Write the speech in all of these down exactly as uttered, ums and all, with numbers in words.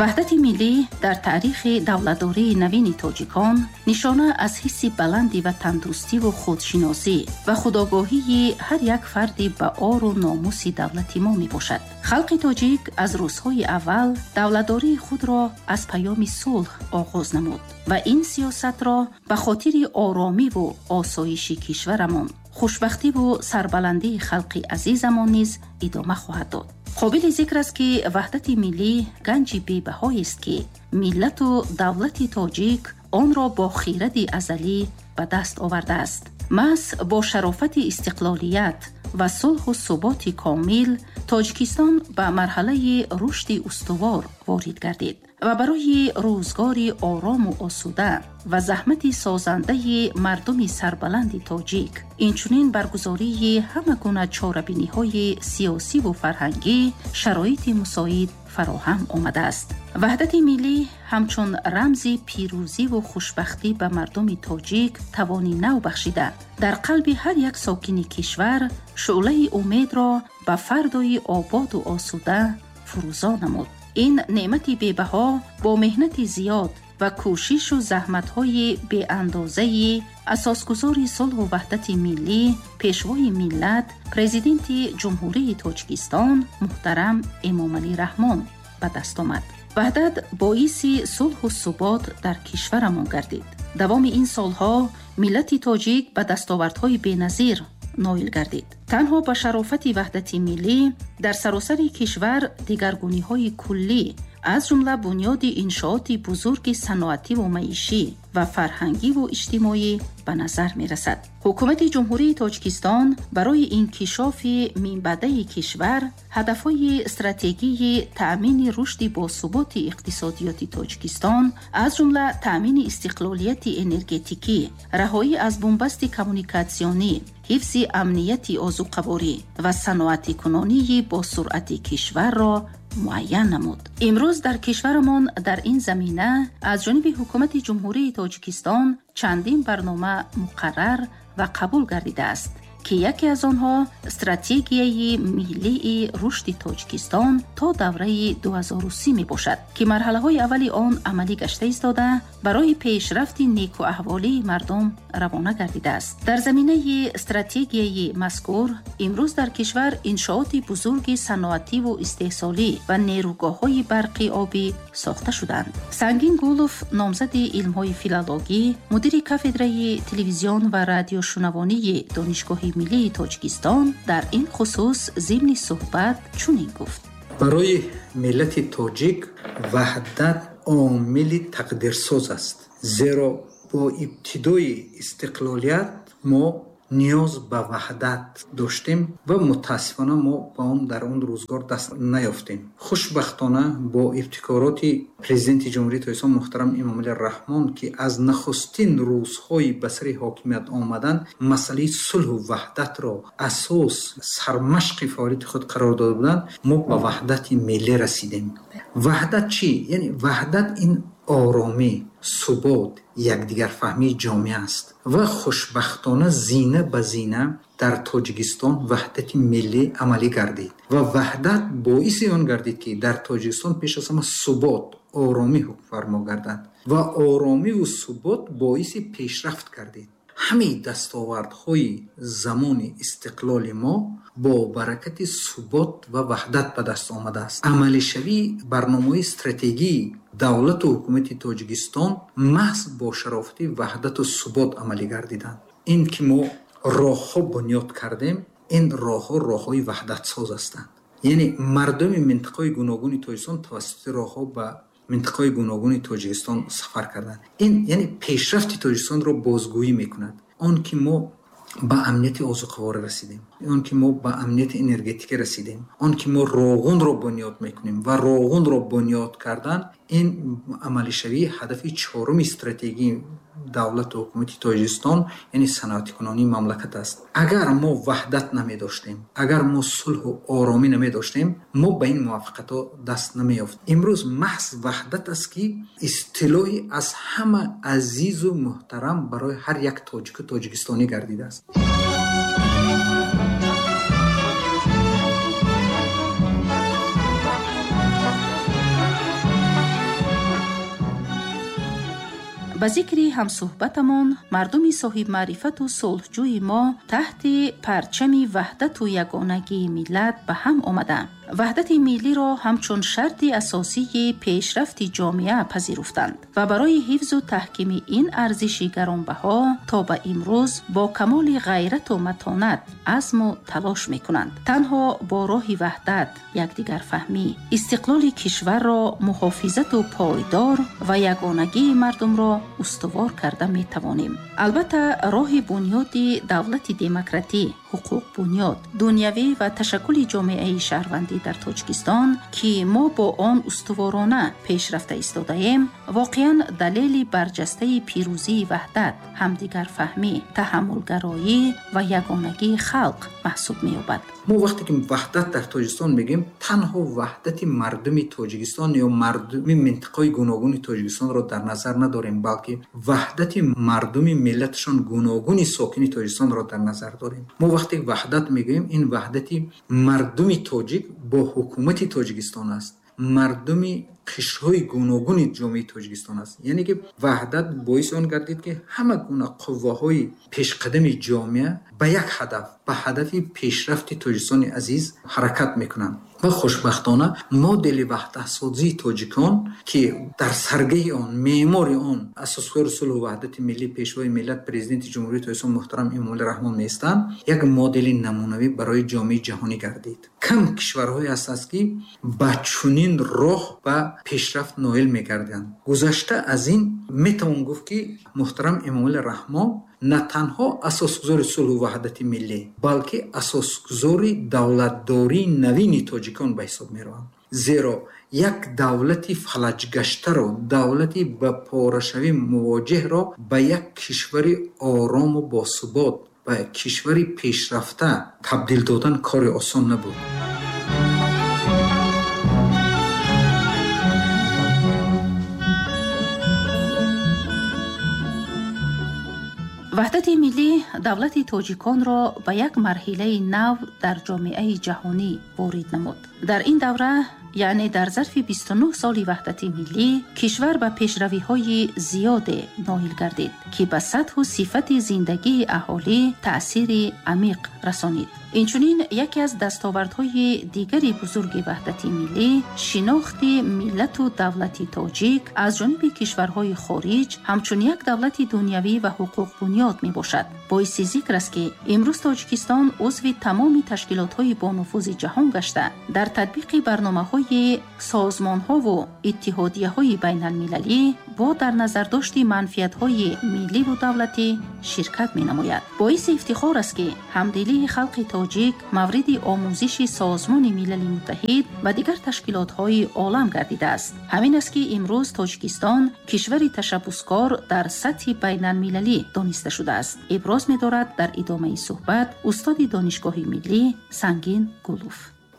Ваҳдати миллӣ дар таърихи давлатдории навини тоҷикон нишона аз ҳисси баланди ватандӯстиву худшиносӣ ва худогоҳии ҳар як фарди ба ору номуси давлати мо мебошад. Халқи тоҷик аз рӯзҳои аввал давлатдории худро аз паёми сулҳ оғоз намуд ва ин сиёсатро ба хотири оромиву осоиши кишварамон, хушбахтиву сарбаландии халқи азизамон низ идома хоҳад дод. Қобили зикр аст, ки ваҳдати миллӣ ганҷи бебаҳоест, ки миллату давлати тоҷик онро бо хиради азалӣ ба даст овардааст. Маҳз бо шарофати истиқлолият ва сулҳу суботи комил Тоҷикистон ба марҳалаи рушди устувор ворид гардид ва барои рӯзгори орому осуда ва заҳмати созандаи мардуми сарбаланди тоҷик, инчунин баргузории ҳама гуна чорабиниҳои сиёсиву фарҳангӣ шароити мусоид фароҳам омадааст. Ваҳдати миллӣ ҳамчун рамзи пирӯзиву хушбахтӣ ба мардуми тоҷик тавони нав бахшида, дар қалби ҳар як сокини кишвар шӯълаи умедро ба фардои ободу осуда фурӯзон намуд. Ин неъмати бебаҳо бо меҳнати зиёд ва кӯшишу заҳматҳои беандозаи асосгузори сулҳу ваҳдати миллӣ, пешвои миллат, Президенти Ҷумҳурии Тоҷикистон муҳтарам Эмомалӣ Раҳмон ба даст омад. Ваҳдат боиси сулҳу субот дар кишварамон гардид. Давоми ин солҳо миллати тоҷик ба дастовардҳои беназир ноил гардид. Танҳо ба шарофати ваҳдати миллӣ дар саросари кишвар дигаргуниҳои куллӣ, аз ҷумла бунёди иншооти бузурги саноативу маишӣ ва фарҳангиву иҷтимоӣ ба назар мерасад. Ҳукумати Ҷумҳурии Тоҷикистон барои инкишофи минбаъдаи кишвар ҳадафҳои стратегии таъмини рушди босуботи иқтисодиёти Тоҷикистон, аз ҷумла таъмини истиқлолияти энергетикӣ, раҳоӣ аз бунбасти коммуникатсионӣ, ҳифзи амнияти озуқаворӣ ва саноатикунонии босуръати кишварро муайян намуд. Имрӯз дар кишварамон дар ин замина аз ҷониби Ҳукумати Ҷумҳурии Тоҷикистон чандин барнома муқаррар ва қабул гардидааст, ки яке аз онҳо стратегияи миллии рушди Тоҷикистон то давраи ду ҳазору си мебошад, ки марҳалаҳои аввали он амалӣ гашта истода, барои пешрафти некуаҳволии мардум равона гардидааст. Дар заминаи стратегияи мазкур имрӯз дар кишвар иншооти бузурги саноативу истеҳсолӣ ва нерӯгоҳҳои барқи обӣ сохта шуданд. Сангин Гулов, номзади илмҳои филологӣ, мудири кафедраи телевизион ва радиошунавонии Донишгоҳи миллии Тоҷикистон, дар ин хусус зимни суҳбат чунин гуфт: Барои миллати тоҷик ваҳдат омили тақдирсоз аст, зеро бо ибтидои истиқлолият мо ниёз ба ваҳдат доштем ва мутаассифона мо ба он дар он рӯзгор даст наёфтем. Хушбахтона, бо ибтикороти Президенти Ҷумҳурии Тоҷикистон муҳтарам Эмомалӣ Раҳмон, ки аз нахустин рӯзҳои ба сари ҳокимият омадан масъалаи сулҳу ваҳдатро асос, сармашқи фаъолияти худ қарор дода буданд, мо ба ваҳдати миллӣ расидем. Ваҳдат чӣ? Яъне ваҳдат ин оромӣ, субот, якдигарфаҳмии ҷомеа аст ва хушбахтона зина ба зина дар Тоҷикистон ваҳдати миллӣ амалӣ гардид ва ваҳдат боиси он гардид, ки дар Тоҷикистон пеш аз ҳама субот, оромӣ ҳукмфармо гардад ва оромиву субот боиси пешрафт гардид. Ҳамаи дастовардҳои замони истиқлоли мо бо баракати субот ва ваҳдат ба даст омадааст. Амалишавии барномаҳои стратегии давлату ҳукумати Тоҷикистон маҳз бо шарофати ваҳдату субот амалӣ гардиданд. Ин ки мо роҳҳо бунёд кардем, ин роҳҳо роҳҳои ваҳдатсоз ҳастанд, яъне мардуми минтақаҳои гуногуни Тоҷикистон тавассути роҳҳо ба минтақаҳои гуногуни Тоҷикистон сафар карданд. Ин яъне пешрафти Тоҷикистонро бозгӯӣ мекунад. Он ки мо ба амнияти озуқаворӣ расидем, он ки мо ба амнияти энергетикӣ расидем, он ки мо Роғунро бунёд мекунем ва Роғунро бунёд кардан ин амалишавии ҳадафи чоруми стратегии давлату ҳукумати Тоҷикистон, яъне саноатикунонии мамлакат аст. Агар мо ваҳдат намедоштем, агар мо сулҳу оромӣ намедоштем, мо ба ин муваффақиятҳо даст намеёфт. Имрӯз маҳз ваҳдат аст, ки истилоҳи аз ҳама азизу муҳтарам барои ҳар як тоҷику тоҷикистонӣ гардидааст. Ба зикри ҳамсӯҳбатамон, мардуми соҳибмаърифату сулҳҷӯи мо таҳти парчами ваҳдату ягонагии миллат ба ҳам омада, ваҳдати миллиро ҳамчун шарти асосии пешрафти ҷомеа пазируфтанд ва барои ҳифзу таҳкими ин арзиши гаронбаҳо то ба имрӯз бо камоли ғайрату матонат азму талош мекунанд. Танҳо бо роҳи ваҳдат, якдигарфаҳмӣ, истиқлоли кишварро муҳофизату пойдор ва ягонагии мардумро устувор карда метавонем. Албатта, роҳи бунёди давлати демократӣ, ҳуқуқбунёд, дунявӣ ва ташаккули ҷомеаи шаҳрвандӣ дар Тоҷикистон, ки мо бо он устуворона пеш рафта истодаем, воқеан далели барҷастаи пирӯзии ваҳдат, ҳамдигарфаҳмӣ, таҳаммулгароӣ ва ягонагии халқ маҳсуб меёбад. Мо вақте ки ваҳдат дар Тоҷикистон мегӯем, танҳо ваҳдати мардуми Тоҷикистон ё мардуми минтақаҳои гуногуни Тоҷикистонро дар назар надорем, балки ваҳдати мардуми миллаташон гуногуни сокини Тоҷикистонро дар назар дорем. Мо вақте ваҳдат мегӯем, ин ваҳдати мардуми тоҷик бо ҳукумати Тоҷикистон аст, мардуми қишрҳои гуногуни ҷомеаи Тоҷикистон аст. Яъне ки ваҳдат боиси он гардид, ки ҳама гуна қувваҳои пешқадами ҷомеа ба як ҳадаф, ба ҳадафи пешрафти Тоҷикистони азиз ҳаракат мекунанд. Ва хушбахтона модели ваҳдатсозии тоҷикон, ки дар саргаҳи он, меъмори он асосгузори сулҳу ваҳдати миллӣ, пешвои миллат, президенти Ҷумҳурии Тоҷикистон муҳтарам Эмомалӣ Раҳмон меистанд, як модели намунавӣ барои ҷомеаи ҷаҳонӣ гардид. Кам кишварҳое ҳастанд, ки ба чунин роҳ ба пешрафт ноил мегарданд. Гузашта аз ин метавон гуфт, ки муҳтарам Эмомалӣ Раҳмон на танҳо асосгузори сулҳу ваҳдати миллӣ, балки асосгузори давлатдории навини тоҷикон ба ҳисоб мераванд. Зеро як давлати фалаҷгаштаро, давлати ба порашавӣ мувоҷеҳро ба як кишвари орому босубот, ба кишвари пешрафта табдил додан кори осон набуд. Ваҳдати миллӣ давлати тоҷиконро ба як марҳилаи нав дар ҷомеаи ҷаҳонӣ ворид намуд. Дар ин давра, яъне дар зарфи бисту нӯҳ соли ваҳдати миллӣ, кишвар ба пешравиҳои зиёде ноил гардид, ки ба сатҳу сифати зиндагии аҳолӣ таъсири амиқ расонид. Инчунин яке аз дастовардҳои дигари бузурги ваҳдати миллӣ шинохти миллату давлати тоҷик аз ҷониби кишварҳои хориҷ ҳамчун як давлати дунявӣ ва ҳуқуқбунёд мебошад. Боиси зикр аст, ки имрӯз Тоҷикистон узви тамоми ташкилотҳои бонуфузи ҷаҳон гашта, дар татбиқи барномаҳои созмонҳову иттиҳодияҳои байналмилалӣ бо дар назардошти манфиатҳои милливу давлатӣ ширкат менамояд. Боиси ифтихор аст, ки ҳамдилии халқи тоҷик мавриди омӯзиши Созмони Милали Муттаҳид ва дигар ташкилотҳои олам гардидааст. Ҳамин аст, ки имрӯз Тоҷикистон кишвари ташаббускор дар сатҳи байналмилалӣ дониста шудааст. Иброз медорад дар идомаи суҳбат устоди Донишгоҳи миллӣ Сангин Гулов.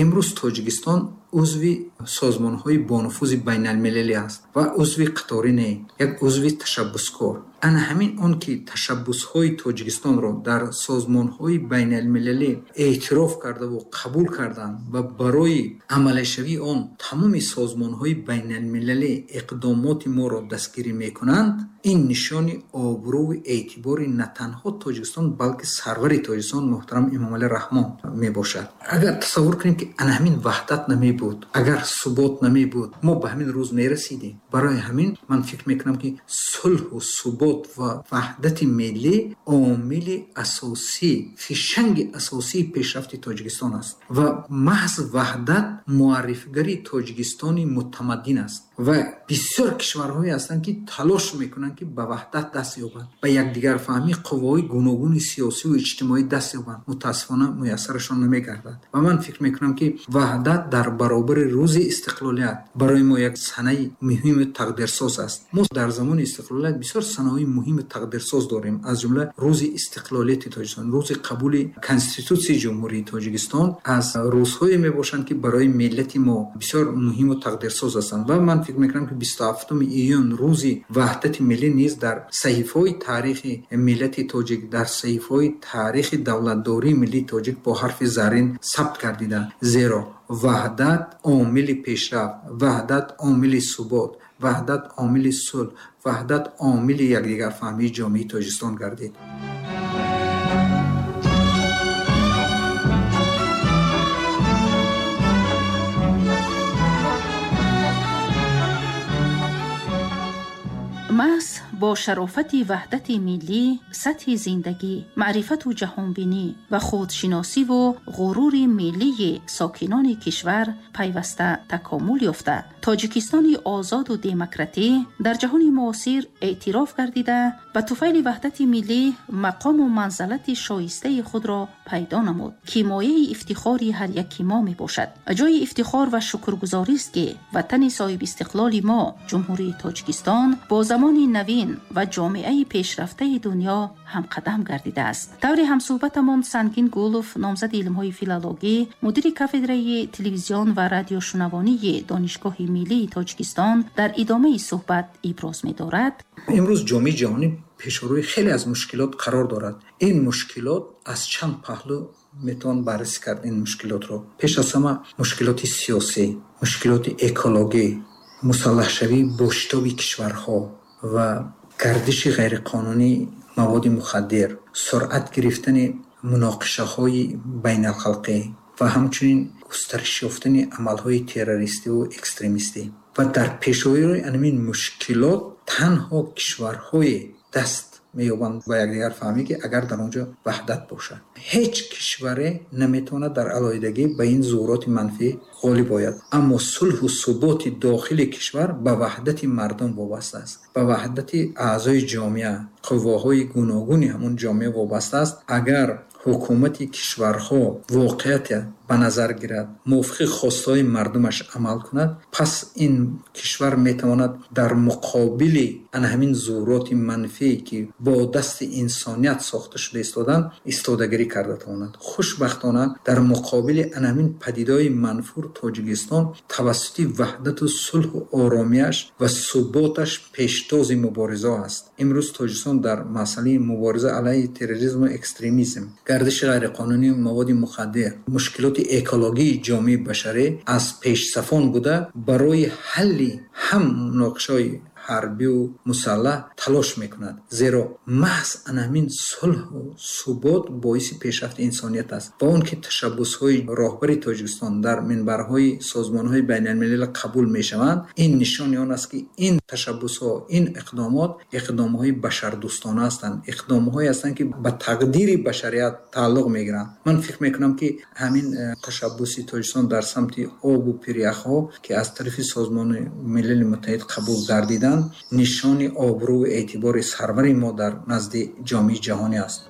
Имрӯз Тоҷикистон узви созмонҳои бонуфузи байналмилалӣ аст ва узви қаторӣ не, як узви ташаббускор. Ана ҳамин он ки ташаббусҳои Тоҷикистонро дар созмонҳои байналмилалӣ эътироф кардаву қабул карданд ва барои амалишавии он тамоми созмонҳои байналмилалӣ иқдомоти моро дастгирӣ мекунанд, ин нишони обрӯву эътибори на танҳо Тоҷикистон, балки сарвари Тоҷикистон муҳтарам Эмомалӣ Раҳмон мебошад. Агар тасаввур кунем, ки ана ҳамин ваҳдат намебуд, агар субот намебуд, мо ба ҳамин рӯз мерасидем. Барои ҳамин ман фикр мекунам, ки сулҳу субот ва ваҳдати миллӣ омили асосӣ, фишанги асосии пешрафти Тоҷикистон аст ва маҳз ваҳдат муаррифгари Тоҷикистони мутамаддин аст. Ва бисёр кишварҳое ҳастанд, ки талош мекунанд, ки ба ваҳдат даст ёбанд, ба якдигарфаҳмӣ қувваҳои гуногуни сиёсиву иҷтимоӣ даст ёбанд. Мутаассифона муяссарашон намегардад. Ва ман фикр мекунам, ки ваҳдат дар баробари рӯзи истиқлолият барои мо як санаи муҳиму тақдирсоз аст. Мо дар замони истиқлолият бисёр санаҳои муҳиму тақдирсоз дорем, аз ҷумла рӯзи истиқлолияти Тоҷикистон, рӯзи қабули Конститутсияи Ҷумҳурии Тоҷикистон аз рӯзҳое мебошанд, ки барои миллати мо бисёр муҳиму тақдирсоз ҳастанд. Ва ман фикр мекунам, ки бисту ҳафтуми июн рӯзи ваҳдати миллӣ низ дар саҳифаҳои таърихи миллати тоҷик, дар саҳифаҳои таърихи давлатдории миллии тоҷик бо ҳарфи заррин сабт гардида. Зеро ваҳдат омили пешрафт, ваҳдат омили субот, Ваҳдат омили сулҳ, ваҳдат омили якдигарфаҳмии ҷомеаи Тоҷикистон гардид. Маҳз бо шарофати ваҳдати миллӣ, сатҳи зиндагӣ, маърифату ҷаҳонбинӣ ва худшиносиву ғурури миллии сокинони кишвар пайваста такомул ёфта, Тоҷикистони озоду демократӣ дар ҷаҳони муосир эътироф гардида, ба туфайли ваҳдати миллӣ мақому манзалати шоистаи худро пайдо намуд, ки мояи ифтихори ҳар яки мо мебошад. Ҷои ифтихор ва шукргузорист, ки ватани соҳибистиқлоли мо, Ҷумҳурии Тоҷикистон, бо замони навин ва ҷомеаи пешрафтаи дунё ҳамқадам гардидааст. Таври ҳамсӯҳбатамон Сангин Гулов, номзади илмҳои филологӣ, мудири кафедраи телевизион ва радиошунавонии Донишгоҳи миллии Тоҷикистон, дар идомаи суҳбат иброз медорад. Имрӯз ҷомеаи ҷаҳонӣ пешрӯи хеле аз мушкилот қарор дорад. Ин мушкилот аз чанд паҳлӯ метавон баррасӣ кард. Ин мушкилотро пеш аз ҳама мушкилоти сиёсӣ, мушкилоти экологӣ, мусаллаҳшавии бо шитоби кишварҳо ва гардиши ғайриқонунии маводи мухаддир, суръат гирифтани муноқишаҳои байналхалқӣ ва ҳамчунин густариш ёфтани амалҳои террористиву экстремистӣ. Ва дар пешрӯи ҳамин мушкилот танҳо кишварҳое даст меёбанд ба якдигар фаҳмӣ, ки агар дар он ҷо ваҳдат бошад. Ҳеҷ кишваре наметавонад дар алоҳидагӣ ба ин зуҳуроти манфӣ ғолиб ояд. Аммо сулҳу суботи дохили кишвар ба ваҳдати мардум вобаста аст, ба ваҳдати аъзои ҷомеа, қувваҳои гуногуни ҳамон ҷомеа вобаста аст. Агар ҳукумати кишварҳо воқеият ба назар гирад, мувофиқи хостаҳои мардумаш амал кунад, пас ин кишвар метавонад дар муқобили ана ҳамин зуҳуроти манфие, ки бо дасти инсоният сохта шуда истоданд, истодагирӣ карда тавонад. Хушбахтона, дар муқобили ана ҳамин падидаҳои манфур Тоҷикистон тавассути ваҳдату сулҳу оромияш ва суботаш пештози мубориза аст. Имрӯз Тоҷикистон дар масъалаи мубориза алайҳи терроризму экстремизм, гардиши ғайриқонунии маводи мухаддир, мушкилоти экологии ҷомеаи башарӣ аз пешсафон буда, барои ҳалли ҳам муноқишаҳои ҳарбию мусаллаҳ талош мекунад. Зеро маҳз ана ҳамин сулҳу субот боиси пешрафти инсоният аст. Ва он ки ташаббусҳои роҳбари Тоҷикистон дар минбарҳои созмонҳои байналмилалӣ қабул мешаванд, ин нишони он аст, ки ин ташаббусҳо, ин иқдомот иқдомҳои башардӯстона ҳастанд, иқдомҳое ҳастанд, ки ба тақдири башарият тааллуқ мегиранд. Ман фикр мекунам, ки ҳамин ташаббуси Тоҷикистон дар самти обу пиряхҳо, ки аз тарафи Созмони Милали Муттаҳид қабул гардиданд, нишони обрӯву эътибори сарвари мо дар назди ҷомеаи ҷаҳонӣ аст.